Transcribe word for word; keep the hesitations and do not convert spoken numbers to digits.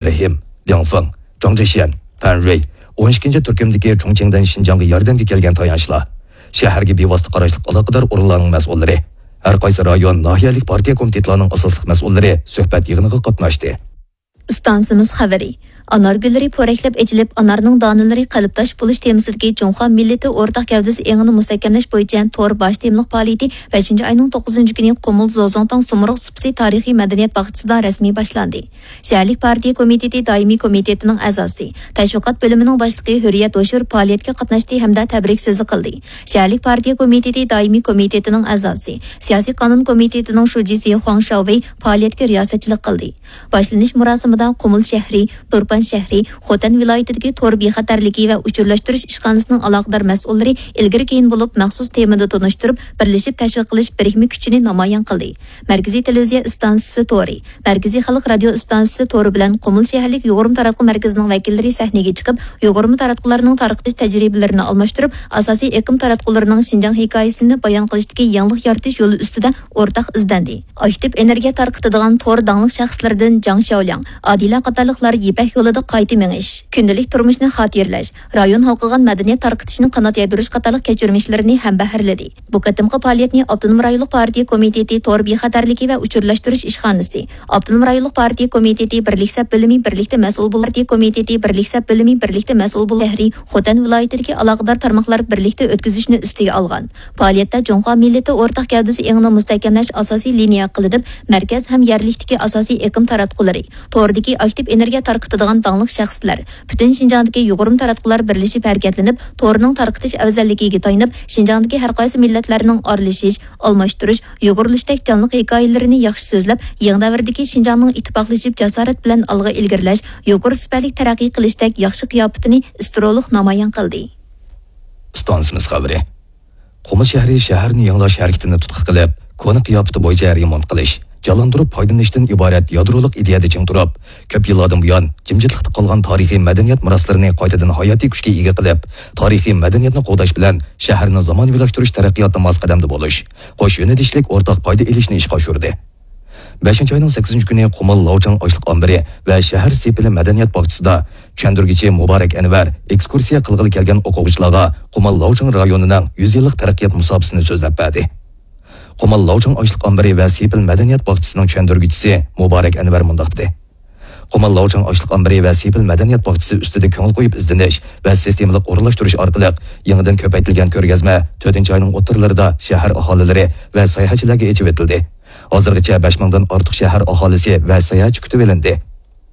رېھىم، لياڭفېڭ، جاڭ جېشيەن، فەن رۇي، ئون ئىككىنچى تۈركۈمدىكى چۇڭچىڭدەن شىنجاڭغا ياردەمگە كەلگەن تايانچلار، شەھەرگە بىۋاسىتە قاراشلىق ئالاقىدار ئورۇنلارنىڭ مەسئۇللىرى، ھەر قايسى رايون، ناھىيەلىك پارتىيە كومىتېتلارنىڭ ئاساسلىق مەسئۇللىرى سۆھبەت يىغىنىغا قاتناشتى. ئىستانسىمىز خەۋىرى. ئانار گۈللىرى پورەكلەپ ئېچىلىپ، ئانارنىڭ دانىلىرى قەلبداش بولۇش تېمىسىدىكى جۇڭخۇا مىللىتى ئورتاق گەۋدىسى ئېڭىنى مۇستەھكەملەش بويىچە تور باش تېمىلىق پائالىيىتى بەشىنچى ئاينىڭ توققۇزىنچى كۈنى قۇمۇل زوزۇڭتاڭ سۇمرۇغ سۇپىسى تارىخىي مەدەنىيەت باغچىسىدا رەسمىي باشلاندى. شەھەرلىك پارتىيە كومىتېتى دائىمىي كومىتېتىنىڭ ئەزاسى، تەشۋىقات بۆلۈمىنىڭ باشلىقى ھۆرىيەت ھوشۇر پائالىيەتكە قاتناشتى ھەمدە تەبرىك سۆزى قىلدى. شەھەرلىك پارتىيە كومىتېتى دائىمىي كومىتېتىنىڭ ئەزاسى، سىياسىي قانۇن كومىتېتىنىڭ شۇجىسى خۇاڭ شياۋېي پائالىيەتكە رىياسەتچىلىك قىلدى. باشلىنىش مۇراسىمىدا قۇمۇل شەھىرى، تۇرپان شەھىرى، خوتەن ۋىلايىتىدىكى تور بىخەتەرلىكى ۋە ئۇچۇرلاشتۇرۇش ئىشخانىسىنىڭ ئالاقىدار مەسئۇللىرى ئىلگىرى كېيىن بولۇپ مەخسۇس تېمىدا تونۇشتۇرۇپ، بىرلىشىپ تەشۋىق قىلىش بىرىكمە كۈچىنى نامايان قىلدى. مەركىزىي تېلېۋىزىيە ئىستانسىسى تورى، مەركىزىي خەلق رادىيو ئىستانسىسى تورى بىلەن قۇمۇل شەھەرلىك يۇغۇرما تاراتقۇ مەركىزىنىڭ ۋەكىللىرى سەھنىگە چىقىپ، يۇغۇرما تاراتقۇلارنىڭ تارقىتىش تەجرىبىلىرىنى ئالماشتۇرۇپ، ئاساسىي ئېقىم تاراتقۇلىرىنىڭ شىنجاڭ ھېكايىسىنى بايان قىلىشتىكى يېڭىلىق يارىتىش يولى ئۈستىدە ئورتاق ئىزدەندى. ئاكتىپ ئېنېرگىيە تارقىتىدىغان تور داڭلىق شەخسلىرىدىن جاڭ شياۋلياڭ، ئادىلە قاتارلىقلار يىپەك يولىدا قايتا مېڭىش، كۈندىلىك تۇرمۇشنى خاتىرىلەش، رايون ھالقىغان مەدەنىيەت تارقىتىشنى قانات يايدۇرۇش قاتارلىق كەچۈرمىشلىرىنى ھەمبەھىرلىدى. بۇ قېتىمقى پائالىيەتنى ئاپتونوم رايونلۇق پارتىيە كومىتېتى تور بىخەتەرلىكى ۋە ئۇچۇرلاشتۇرۇش ئىشخانىسى، ئاپتونوم رايونلۇق پارتىيە كومىتېتى بىرلىك سەپ بۆلۈمى بىرلىكتە مەسئۇل بولۇپ، پارتىيە كومىتېتى بىرلىك سەپ بۆلۈمى بىرلىكتە مەسئۇل بولۇپ، شەھىرى، خوتەن ۋىلايىتىدىكى ئالاقىدار تارماقلار بىرلىكتە ئۆتكۈزۈشنى ئۈستىگە ئالغان. پائالىيەتتە جۇڭخۇا مىللىتى ئورتاق گەۋدىسى ئېڭىنى مۇستەھكەملەش ئاساسىي لىنىيە قىلىنىپ، مەركەز ھەم يەرلىكتىكى ئاساسىي ئېقىم تاراتقۇلىرى، توردىكى ئاكتىپ ئېنېرگىيە تارقىتىدىغان داڭلىق شەخسلەر، پۈتۈن شىنجاڭدىكى يۇغۇرما تاراتقۇلار بىرلىشىپ ھەرىكەتلىنىپ، تورنىڭ تارقىتىش ئەۋزەللىكىگە تايىنىپ، شىنجاڭدىكى ھەر قايسى مىللەتلەرنىڭ ئارىلىشىش، ئالماشتۇرۇش، يۇغۇرۇلۇشتەك جانلىق ھېكايىلىرىنى ياخشى سۆزلەپ، يېڭى دەۋردىكى شىنجاڭنىڭ ئىتتىپاقلىشىپ، جاسارەت بىلەن ئالغا ئىلگىرىلەش، يۇقىرى سۈپەتلىك تەرەققىي قىلىشتەك ياخشى قىياپىتىنى ئىسترولۇق نامايان قىلدى. ئىستانسىمىز خەۋىرى. قۇمۇل شەھىرى شەھەرنى يېڭىلاش ھەرىكىتىنى تۇتقا قىلىپ، كونا قىياپىتى بويىچە رېمونت قىلىش، جانلاندۇرۇپ پايدىلىنىشتىن ئىبارەت يادرولۇق ئىدىيەدە چىڭ تۇرۇپ، كۆپ يىللاردىن بۇيان جىمجىتلىقتا قالغان تارىخىي مەدەنىيەت مىراسلىرىنى قايتىدىن ھاياتىي كۈچكە ئىگە قىلىپ، تارىخىي مەدەنىيەتنى قوغداش بىلەن شەھەرنى زامانىۋىلاشتۇرۇش تەرەققىياتىدا ماس قەدەمدە بولۇش، قوش يۆنىلىشلىك ئورتاق پايدا ئېلىشنى ئىشقا ئاشۇردى. بەشىنچى ئاينىڭ سەككىزىنچى كۈنى قۇمۇل لاۋچاڭ ئاشلىق ئامبىرى ۋە شەھەر سېپىلى مەدەنىيەت باغچىسىدا چۈشەندۈرگۈچى مۇبارەك ئەنۋەر ئېكسكۇرسىيە قىلغىلى كەلگەن ئوقۇغۇچىلارغا قۇمۇل لاۋچاڭ رايونىنىڭ يۈز يىللىق تەرەققىيات مۇساپىسىنى سۆزلەپ بەردى. قۇمۇل لاۋچاڭ ئاشلىق ئامبىرى ۋە سېپىل مەدەنىيەت باغچىسىنىڭ چۈشەندۈرگۈچىسى مۇبارەك ئەنۋەر مۇنداق دېدى: قۇمۇل لاۋچاڭ ئاشلىق ئامبىرى ۋە سېپىل مەدەنىيەت باغچىسى ئۈستىدە كۆڭۈل قويۇپ ئىزدىنىش ۋە سىستېمىلىق ئورۇنلاشتۇرۇش ئارقىلىق يېڭىدىن كۆپەيتىلگەن كۆرگەزمە تۆتىنچى ئاينىڭ ئوتتۇرىلىرىدا شەھەر ئاھالىلىرى ۋە ساياھەتچىلەرگە ئېچىۋېتىلدى. ھازىرغىچە بەش مىڭدىن ئارتۇق شەھەر ئاھالىسى ۋە ساياھەتچى كۈتۈۋېلىندى.